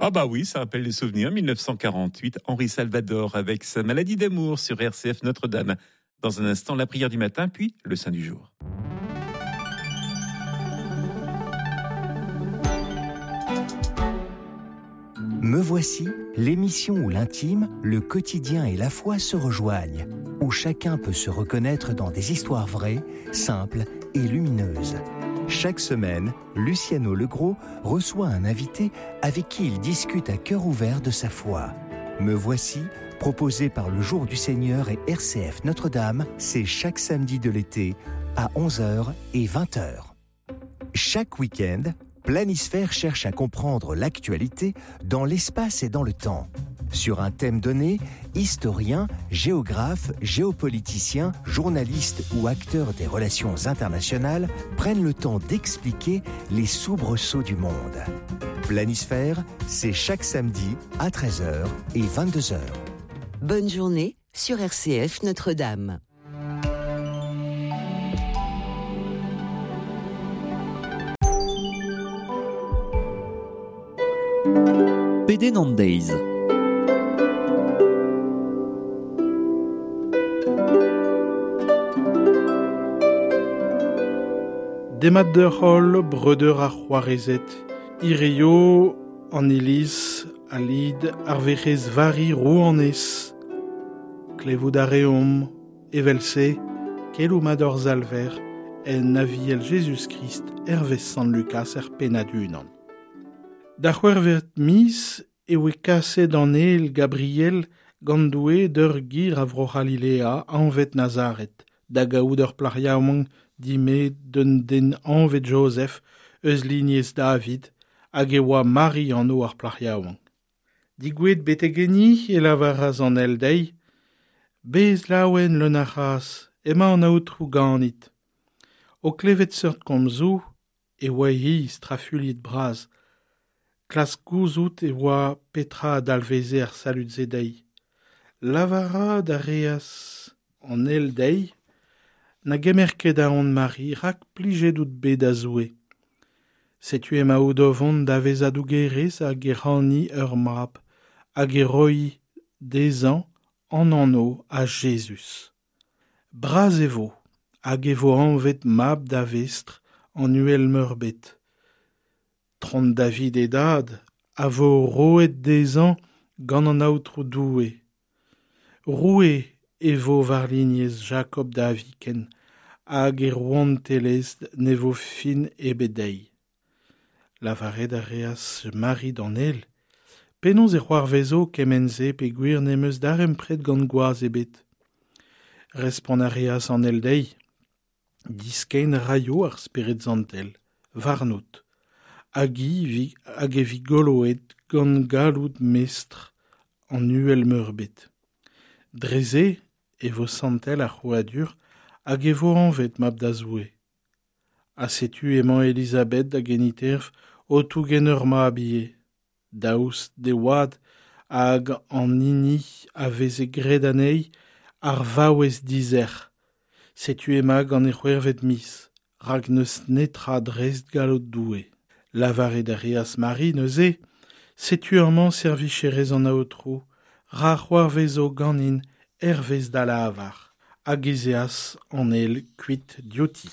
Ah bah oui, ça rappelle les souvenirs. 1948, Henri Salvador avec sa maladie d'amour sur RCF Notre-Dame. Dans un instant, la prière du matin, puis le Saint du jour. Me voici, l'émission où l'intime, le quotidien et la foi se rejoignent, où chacun peut se reconnaître dans des histoires vraies, simples et lumineuses. Chaque semaine, Luciano Legros reçoit un invité avec qui il discute à cœur ouvert de sa foi. Me voici, proposé par le Jour du Seigneur et RCF Notre-Dame, c'est chaque samedi de l'été à 11h et 20h. Chaque week-end, Planisphère cherche à comprendre l'actualité dans l'espace et dans le temps. Sur un thème donné, historiens, géographes, géopoliticiens, journalistes ou acteurs des relations internationales prennent le temps d'expliquer les soubresauts du monde. Planisphère, c'est chaque samedi à 13h et 22h. Bonne journée sur RCF Notre-Dame. Pedenn an deiz. Demat deoc'h holl, breudeur ha c'hoarezed. Hirio an iliz a lid ar Werc'hez Vari Rouanez. Klevout a reomp, evel-se, keloù mat hor Salver en Aviel Jezuz-Krist hervez Sant Lukaz er pennad unan. Da c'hwec'hvet miz e oe kaset an ael Gabriel gant Doue d'ur gêr a Vro-C'halilea anvet Nazaret, da gaout ur plac'h yaouank dimet d'un den anvet Jozef eus lignez David, hag e oa Mari anv ar plac'h yaouank. Digouezet betek enni e lavaras an ael dezhi, Bez laouen leun a c'hras, emañ an Aotrou ganit. O klevet seurt komzoù e oa-hi strafuilhet bras. Klask gouzout e oa petra a dalveze ar salud-se dezhi. Lavarat a reas an ael dezhi Na gemer ket aon Mari, rak plijet out bet da Zoue. Setu emaout o vont da vezañ dougerez hag e c'hani ur mab, hag e roi dezhañ an anv a Jezuz. Bras e vo, hag e vo anvet mab da Vestr an Uhel-Meurbet. Tron David e dad a vo roet dezhañ gant an Aotrou Doue. Roue e vo war lignez Jakob da viken, hag e rouantelezh ne vo fin ebet dezhi. Lavaret a reas Mari d'an ael, Penaos e c'hoarvezo kement-se peogwir n'em eus darempred gant gwaz ebet? Respont a reas an ael dezhi, Diskenn raio ar Spered Santel warnout, hag hag e vi goloet gant galloud Mestr an Uhel-Meurbet. Dre-se e vo santel ar c'hrouadur hag e vo anvet mab da Zoue. Ha setu emañ Elizabeth da geniterv o tougen ur mab ivez, daoust d'e oad hag an hini a veze graet anezhi ar vaouez dizerc'h. Setu emañ gant e c'hwec'hvet miz, rak n'eus netra dreist galloud Doue. Lavaret a reas Mari neuze, Setu amañ servicherez an Aotrou, ra c'hoarvezo ganin hervez da lavar. Hag ez eas an ael kuit diouti.